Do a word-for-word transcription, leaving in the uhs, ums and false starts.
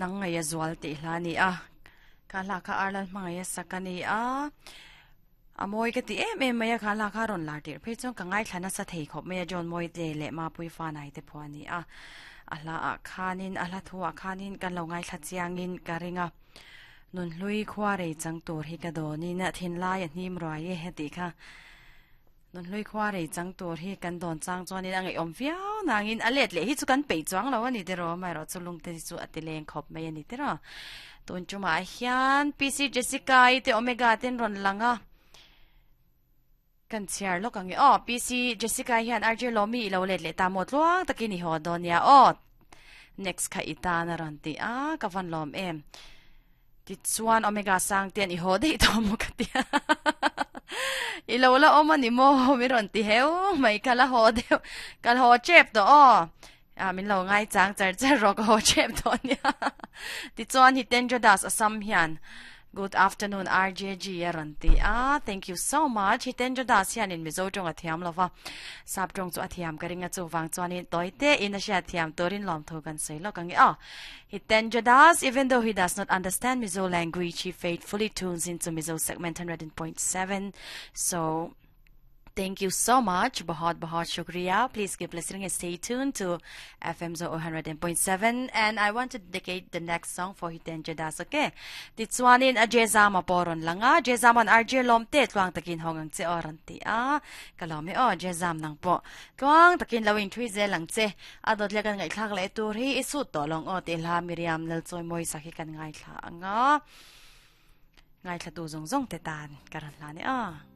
Nang ngai a zual ti hla ni a kha hla kha arlan hmangai a sakani a amoi ka ti em em mai a kha hla kha ron lar tir phei chuan ka ngai thlana sa thei khop mai a John moi te le ma pui fa nai te phuani a a hla a khanin a hla thu a khanin kan lo ngai thla chiangin ka ringa nun hlui khwa rei chang tur hi ka donin a thin lai a hnim ruai e heti kha nun hlui khwa rei chang tur hi kan don chang chuanin a ngai om viau nangin a let le hi chu kan pei chuang lo ani te ro mai ro chulung te chu atileng khop mai ani te ro tun chuma hian P C Jessica i te Omega ten ron langa kan chiar lok ange o P C Jessica hian R J Lomi lo let le ta mo tluang takini ho donia o next kha itana ron ti a ka van lom em ti chuan Omega sang ten i ho dei to mo ka ti i lo la om ani mo mi ron ti heu mai kala ho deu kal ho chep to o a min lo ngai chang char char ro ko ho chep to nia ti chuan hi ten jodas asam hian good afternoon R J G aranti ah thank you so much Hitendra Das hian in Mizo tong athiam lova sap tong chu athiam karinga chu wang chuan in toite in a sia thiam torin lom tho kan sei lo kangi ah Hitendra Das, even though he does not understand Mizo language, he faithfully tunes into Mizo segment one hundred point seven. So thank you so much. Bahut bahut shukriya. Please keep listening and stay tuned to F M Zo one hundred point seven. And I want to dedicate the next song for Hitendra Das. Okay. Titsuanin a Jezama poron langa. Jezaman R J Lomte tuang takin hongang che oran ti a. Kalome o Jezam nang po. Tuang takin lawin thui ze lang che. Adot lekan ngai thlak le tur hi isu to long o te hla Miriam lal choi moi sakhi kan ngai thla anga. Ngai thla tu zong zong te tan karan hla ni a.